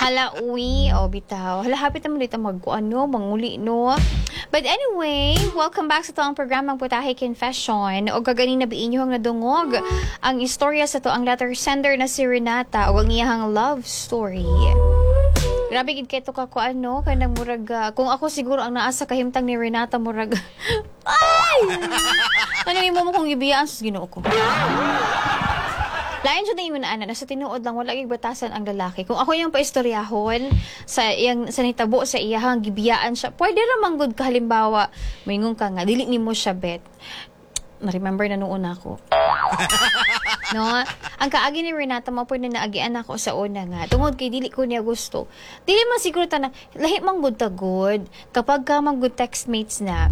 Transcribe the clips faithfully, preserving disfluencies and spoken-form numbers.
Hala, uwi. O, bitaw. Hala, hapit naman dito mag, ano, manguli, no? But anyway, welcome back sa atoang programang Putahe Confession. O kaganina bi inyohang nadungog ang istorya sa atoang letter sender na si Renata o ang iyahang love story. Grabe gid kay to ka ko ano, kanang murag ah, kung ako siguro ang naa sa kahimtang ni Renata, murag ay! Ano imo mo kung gibiyaan sa Ginoo ko? Lain jud ang ana na sa tinuod lang, wala gyud batasan ang lalaki. Kung ako yung paistoryahon sa iyang sa nitabo sa iyahang gibiyaan siya, pwede ra man gud ka, halimbawa, moingon ka nga dili nimo siya bet. Na-remember na noon ako. No? Ang kaagi ni Renata mo po na naagian ako sa una nga. Tungod kay dili ko niya gusto. Dili man siguro ta na, lahi man gud ta gud. Kapag ka man gud textmates na,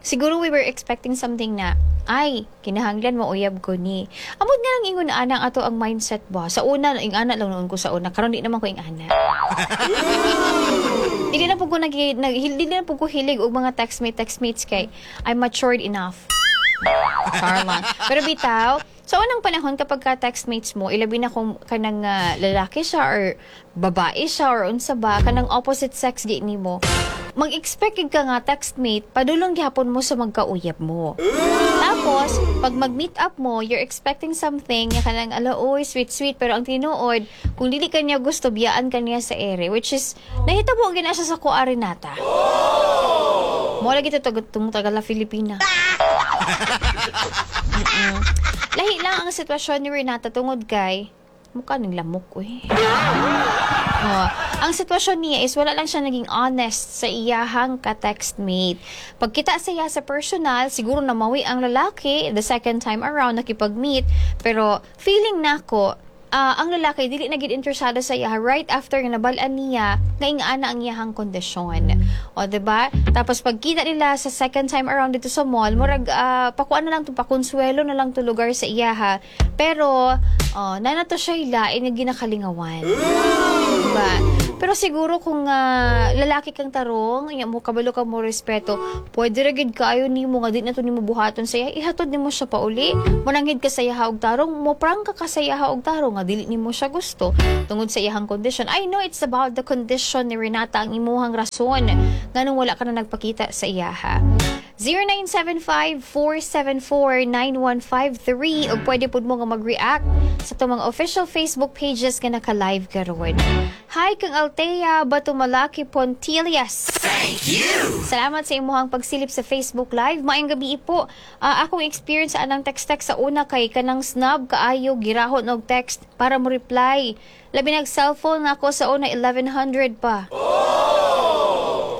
siguro we were expecting something na, ay, kinahanglan mo uyab ko ni. Amot nga lang ingon ana ang ato ang mindset ba. Sa una, ing ana lang noon ko sa una. Karon di naman ko ing ana. Dili na po ko nag, nag dili na po ko hilig og mga textmate textmates kay I'm matured enough. Char lang. Pero bitaw, sa unang panahon kapag ka textmates mo, ilabi na kung kanang ah, lalaki siya or babae siya or unsa ba, kanang opposite sex gi nimo, mag-expect gid ka nga textmate, padulong gihapon mo sa magkauyab mo. Tapos, pag mag-meet up mo, you're expecting something, nga kanang ala, oy, sweet sweet, pero ang tinuod, kung dili ka niya gusto, biyaan ka niya sa ere, which is, nahitabo gina siya sa kuha, Renata. Mo lagi to tug tagala Filipina. Mm-mm. Lahi lang ang sitwasyon ni Renata tungod kay mukha ng lamok, uy. Oh, ang sitwasyon niya is wala lang siya naging honest sa iyahang ka-textmate. Pagkita sa iya sa personal, siguro namawi ang lalaki the second time around nakipag-meet, pero feeling nako ah, ang lalaki dili na gid interesado sa iya right after nga nabal-an niya nga ingana ang iyahang kondisyon. O, 'di ba? Tapos pagkita nila sa second time around dito sa mall, murag uh, pakuan na lang to, pakonsuelo na lang to lugar sa iyaha. Pero oh, na to siya lain nga ginakalingawan. Diba? Pero siguro kung ah, lalaki kang tarong, inya mo kabalo ka mo respeto, pwede ra gid kaayo nimo nga di na to nimo buhaton sa iya, ihatod nimo siya pauli. Mananghid ka sa iya og tarong, mo prangka ka sa iya og tarong nga dili nimo siya gusto tungod sa iyahang condition. I know it's about the condition ni Renata ang imuhang rason nganong wala ka na nagpakita sa iyaha. zero nine seven five, four seven four, nine one five three ug pwede pud mo nga mag-react sa atong mga official Facebook pages nga naka-live karon. Hi kang Althea Batumalaki Pontilias. Thank you. Salamat sa imuhang pagsilip sa Facebook Live. Maayong gabi po. Ah, akong experience sa anang text-text sa una kay kanang snob kaayo, girahon og text para mo reply. Labi nag cellphone ako sa una, eleven hundred pa.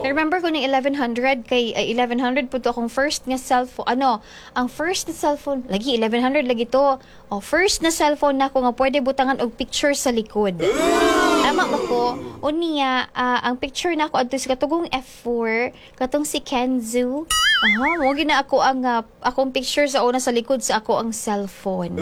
Remember ko ng eleven hundred kay ay, eleven hundred po to akong first nga cellphone. Ano, ang first na cellphone, lagi eleven hundred lagi to. Oh, first na cellphone nako nga pwede butangan og picture sa likod. Tama ba ko? Unya, ah, ang picture nako adto sa katugong F four, katong si Kenzu. Aha, mo gina ako ang ah, akong picture sa una sa likod sa ako ang cellphone.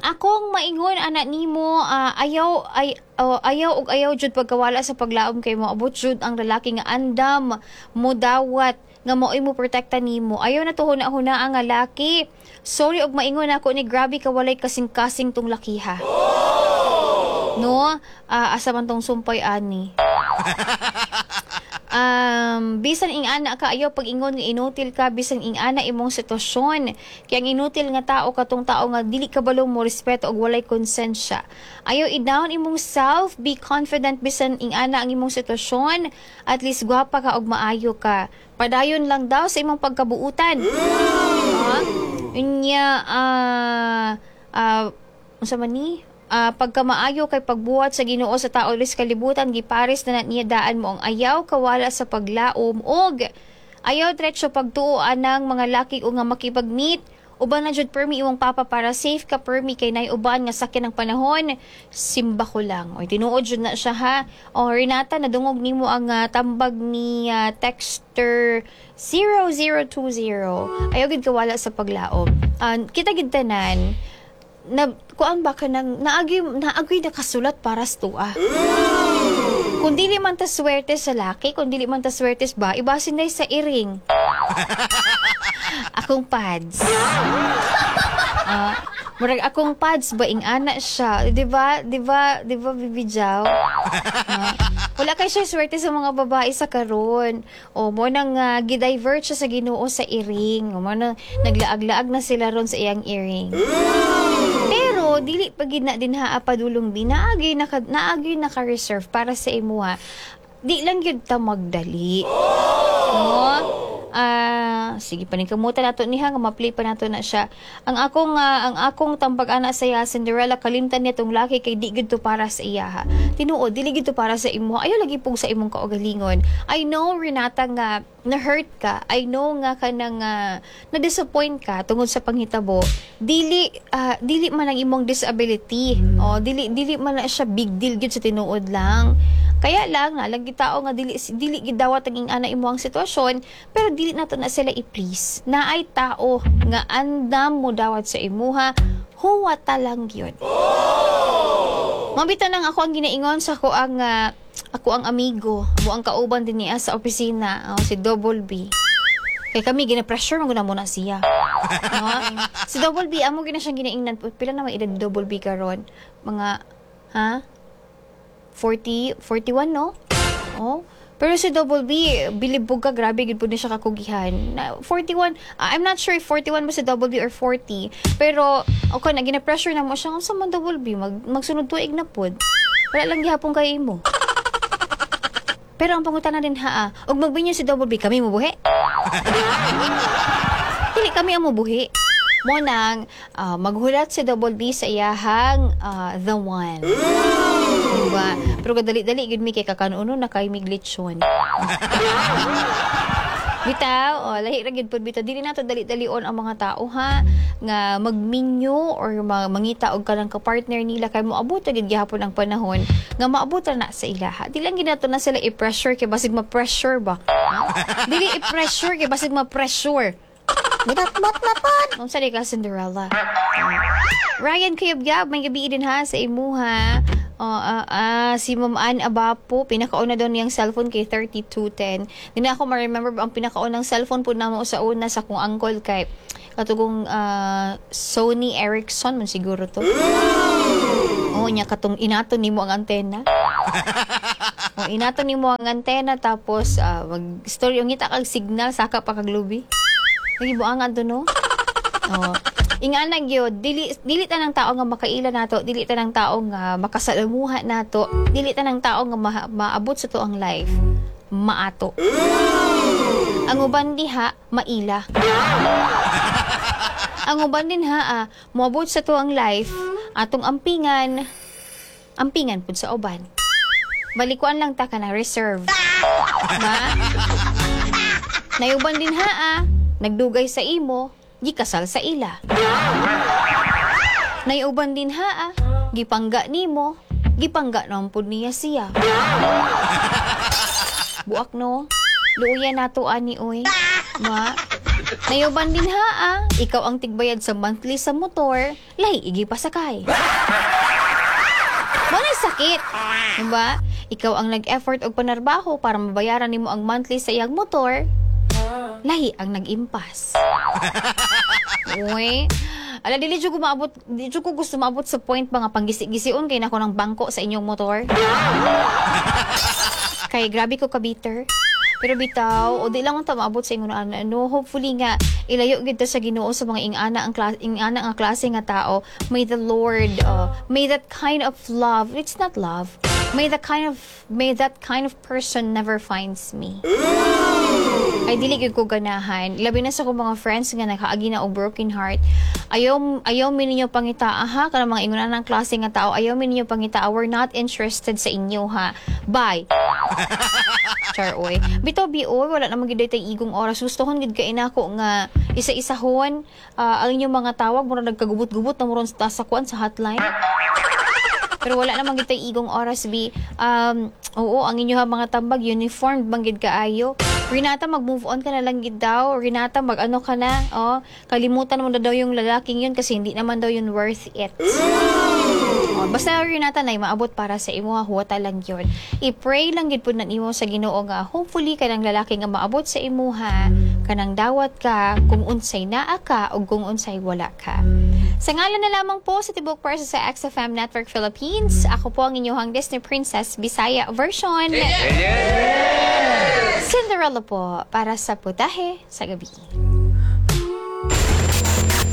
Akong maingon ana nimo, ah, ayaw ay oh, ayaw og ayaw jud pagkawala sa paglaom kay moabot jud ang lalaki nga andam mo dawat nga maoy mo protekta nimo. Ayaw na to huna-huna ang laki. Sorry og maingon ako ni, grabe ka walay kasing-kasing tong lakiha. No, Ah, asa man tong sumpay ani? Um, bisan ing-ana ka, ayaw pag-ingon nga inutil ka bisan ing-ana imong sitwasyon. Kaya ang inutil nga tao katong tao nga dili kabalo mo respeto og walay konsensya. Ayaw i-down imong self, be confident bisan ing-ana ang imong sitwasyon. At least gwapa ka og maayo ka. Padayon lang daw sa imong pagkabuutan. Ah, unya ah ah unsa man ni? Ah, pagkamaayo kay pagbuhat sa Ginoo sa tao sa kalibutan, gipares na na niya daan mo ang ayaw kawala sa paglaom og ayaw diretso pagtuo anang mga laki o nga makipag-meet. Uban na jud permi imong papa para safe ka permi kay nay uban nga sakyan ng panahon. Simba ko lang. Oy, tinuod jud na siya ha. O Renata, nadungog nimo ang ah, tambag ni ah, texter zero zero two zero. Ayaw gid kawala sa paglaom. Ah, kita gid tanan na kuan ba ka nang naagi naagi nakasulat para sa tuwa. Kung dili man ta swerte sa laki, kung dili man ta swerte ba, ibasin na sa iring. Akong pads. Ah, Murag akong pads ba ing-ana siya, 'di ba? 'Di ba? 'Di ba Bibi Jaw? Ah, wala kay siya swerte sa mga babae sa karon. O mo nang uh, gi-divert siya sa Ginoo sa earring. O mo nang naglaag-laag na sila ron sa iyang earring. Pero dili pa gid na din ha padulong bi naagi naka naagi naka-reserve para sa imuha. Di lang gyud ta magdali. No? Ah, sige paningkamutan nato niya nga ma-play pa nato na siya. Ang akong ah, ang akong tambag ana sa iya Cinderella kalimtan niya tong laki kay di gid to para sa iya ha. Tinuod dili gid to para sa imo. Ayaw lagi pug sa imong kaugalingon. I know Renata nga na-hurt ka. I know nga kanang uh, na-disappoint ka tungod sa panghitabo. Dili ah, dili man ang imong disability. O dili dili man na siya big deal gid sa tinuod lang. Kaya lang nalang gid tao nga dili dili gid dawat ang ana imo ang sitwasyon, pero dili nato na sila i-please. Naay tao nga andam mo dawat sa imuha, huwata lang yun. Mabita nang ako ang ginaingon sa ako ang ah, ako ang amigo, amo ang kauban din niya sa opisina, oh, si Double B. Kay kami gina-pressure mo na muna siya. No? Si Double B amo gina siyang ginaingnan. Pila na may edad Double B karon? Mga ha? forty, forty-one, no? Oh. Pero si Double B, bilib po ka, grabe, gid po ni siya kakugihan. Na, forty-one, ah, I'm not sure if forty-one ba si Double B or forty. Pero, okay, na, gina-pressure na mo siya, sa man Double B, mag, magsunod tuig na pod. Wala lang gihapon kay imo. Pero ang pangutana din ha, ah, og magbinyo si Double B, kami mubuhi? Dili kami ang mubuhi. Mo nang ah, maghulat si Double B sa iyahang ah, the one. Diba? Pero kadali-dali gid mi kay kakanuno na kay mig lechon. Bitaw, oh, lahi ra gid pud bitaw. Dili nato dali-dalion ang mga tao ha nga magminyo or ma- mangita og kanang ka-partner nila kay moabot gid gihapon ang panahon nga maabot ra na sa ilaha. Dili lang gid nato na sila i-pressure kay basig ma-pressure ba. Ha? Dili i-pressure kay basig ma-pressure. Mudatmat na pod. Unsa di ka Cinderella? Ryan Kuyabgab, may gabi din ha sa imuha. Oh, ah, ah, si Ma'am Ann Abapo, pinakauna daw niyang cellphone kay thirty-two ten. Di na ako ma-remember ang pinakaunang cellphone po namo sa una sa akong uncle kay katugong ah, Sony Ericsson man siguro to. Oo, niya katong inato nimo ang antena. O, inato nimo ang antena tapos ah, mag-story yung ngita kag signal saka pa kag lubi. Lagi buangan to no. Oh. Ingana gyud, dili dili tanang tao nga makaila nato, dili tanang tao nga makasalamuha nato, dili tanang tao nga ma- maabot sa tuang life. Maato. Ang uban diha maila. Ang uban din ha, ah, moabot sa tuang life, atong ampingan, ampingan pud sa uban. Balikuan lang ta ka na reserve. Ma? Nayuban din ha, ah, nagdugay sa imo, gikasal sa ila. Nayuban din ha, ah, gipangga nimo, gipangga naman pud niya siya. Buak no, luuya nato ani oy. Ma, nayuban din ha, ah, ikaw ang tigbayad sa monthly sa motor, lahi igi pasakay. Mo na sakit. Diba? Ikaw ang nag-effort og panarbaho para mabayaran nimo ang monthly sa iyang motor. Lahi ang nag-impas. Uy. Ala, dili jud ko maabot, di jud ko gusto maabot sa point ba nga panggisi-gision kay nako ng bangko sa inyong motor. Kay grabe ko ka-bitter. Pero bitaw, o di lang unta maabot sa ingon ana no, hopefully nga ilayo gid ta sa Ginoo sa mga ingana ang klase ingana nga klase nga tao. May the Lord uh, may that kind of love, it's not love. May the kind of may that kind of person never finds me. Ay dili gyud ko ganahan. Labi na sa akong mga friends nga nakaagi na og broken heart. Ayaw ayaw mi ninyo pangitaa ha kanang mga ingon ang klase nga tao. Ayaw mi ninyo pangitaa. We're not interested sa inyo ha. Bye. Char oy. Bitaw bi oy, wala naman gid tay igong oras. Gustohon gid kay nako nga isa-isahon ah, ang inyong mga tawag mura nagkagubot-gubot na muron sa sa kuan sa hotline. Pero wala naman gid tay igong oras bi. Um, oo, ang inyo ha mga tambag uniformed man gid kaayo. Renata, mag-move on ka na lang gid daw. Renata, mag-ano ka na. Oh, kalimutan mo na daw yung lalaking yun kasi hindi naman daw yun worth it. Oh, basta Renata na maabot para sa imo ha, huwata lang yun. I-pray lang gid pud na nimo sa Ginoo nga hopefully kanang lalaki nga maabot sa imo ha, kanang dawat ka kung unsay naa ka o kung unsay wala ka. Sa ngalan na lamang po sa tibuok pwersa sa X F M Network Philippines, ako po ang inyong Disney Princess Bisaya version. Cinderella po para sa Putahe sa Gabi.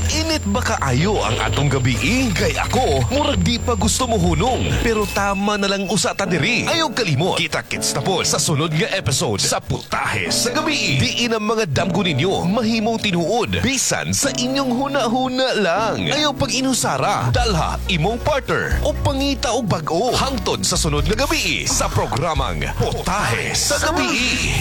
Init ba kaayo ang atong gabi? Kay ako, murag di pa gusto mo hunong. Pero tama na lang usa ta diri. Ayaw kalimot. Kita-kits na po sa sunod nga episode sa Putahe sa Gabi. Diin ang mga damgo ninyo mahimong tinuod. Bisan sa inyong huna-huna lang. Ayaw pag inusara. Dalha imong partner o pangita og bag-o. Hangtod sa sunod nga gabi sa programang Putahe sa Gabi.